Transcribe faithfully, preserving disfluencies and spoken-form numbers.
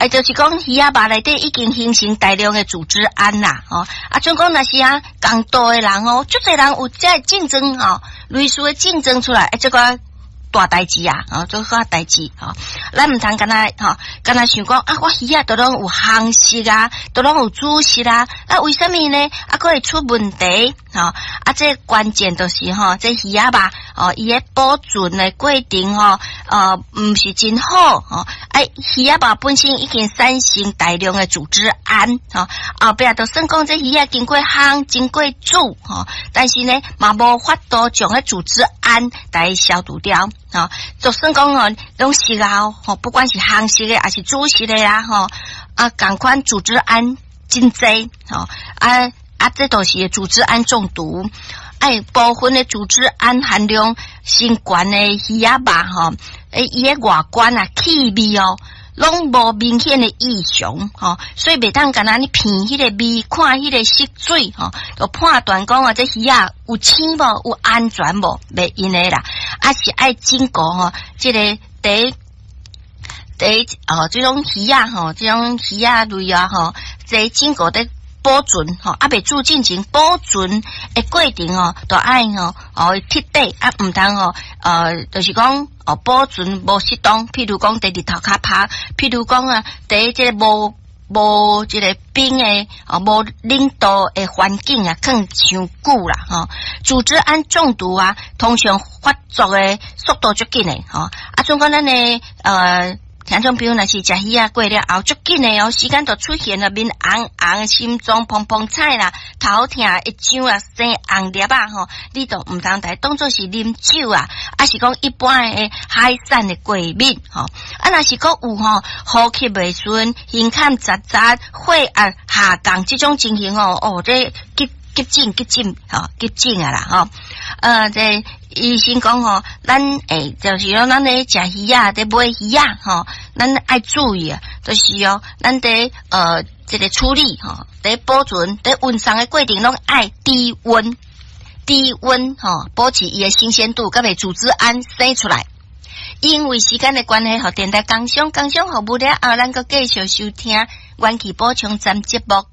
哎，就是講魚仔肉內底已經形成大量的組織胺啦，吼。啊，準講若是啊，仝度的人哦，足濟人有這个症狀吼，類似的症狀出來，欸，這個大代誌啊，哦，這個代誌吼，咱毋通干焦吼，干焦想講啊，我魚仔都攏有烘熟啊，都攏有煮熟啊，啊，為啥物呢？啊，閣會出問題，吼，啊，這關鍵就是吼，這魚仔肉哦，伊的保存的過程吼，呃，毋是真好，吼，啊，魚仔肉本身已經產生大量的組織胺，吼，後壁就算講這魚仔經過烘、經過煮，吼，但是呢，嘛無法度將彼組織胺來消除掉。吼，就算講哦，攏熟啊，吼，不管是烘熟的還是煮熟的啦，吼，啊，仝款組織胺真濟，吼，啊啊，這都是組織胺中毒，哎，部分的組織胺含量傷懸的魚仔肉，吼，欸，伊的外觀啊、氣味哦，攏無明顯的異常，吼，所以袂當干焦你聞彼個味，看彼個色水，吼，就判斷講啊，這魚仔有腥無，有安全無？袂用的啦，啊是愛經過吼，這個佇佇哦，這種魚仔吼，這種魚仔類啊吼，這經過佇保存吼，猶未煮進前保存的過程吼，都愛吼哦徹底啊，毋通吼呃，就是講哦保存無適當，譬如講佇日頭較曬，譬如講啊，佇這個無無這個冰的哦，無冷度的環境啊，囥傷久啦吼。組織胺中毒啊，通常發作的速度足緊的吼。啊，準講咱的呃。聽眾朋友若是食魚仔過了後，足緊的哦，時間就出現了面紅紅、心臟怦怦彩啦、頭疼會脹啊、生紅粒仔吼，你就毋通來當做是啉酒啊，抑是講一般的海產的過敏吼。啊，若是閣有吼呼吸袂順、胸坎窒窒、血壓下降這種情形吼，哦，這急急診急診吼，急診啊啦吼。呃，這醫生講吼，咱欸，就是講咱咧食魚仔，佇買魚仔吼，咱愛注意啊，就是哦，咱佇呃這個處理吼，佇保存、佇運送的過程攏愛低溫、低溫吼，保持伊的新鮮度，閣袂組織胺生出來。因為時間的關係，予電台工商工商服務了後，咱閣繼續收聽元氣補充站節目。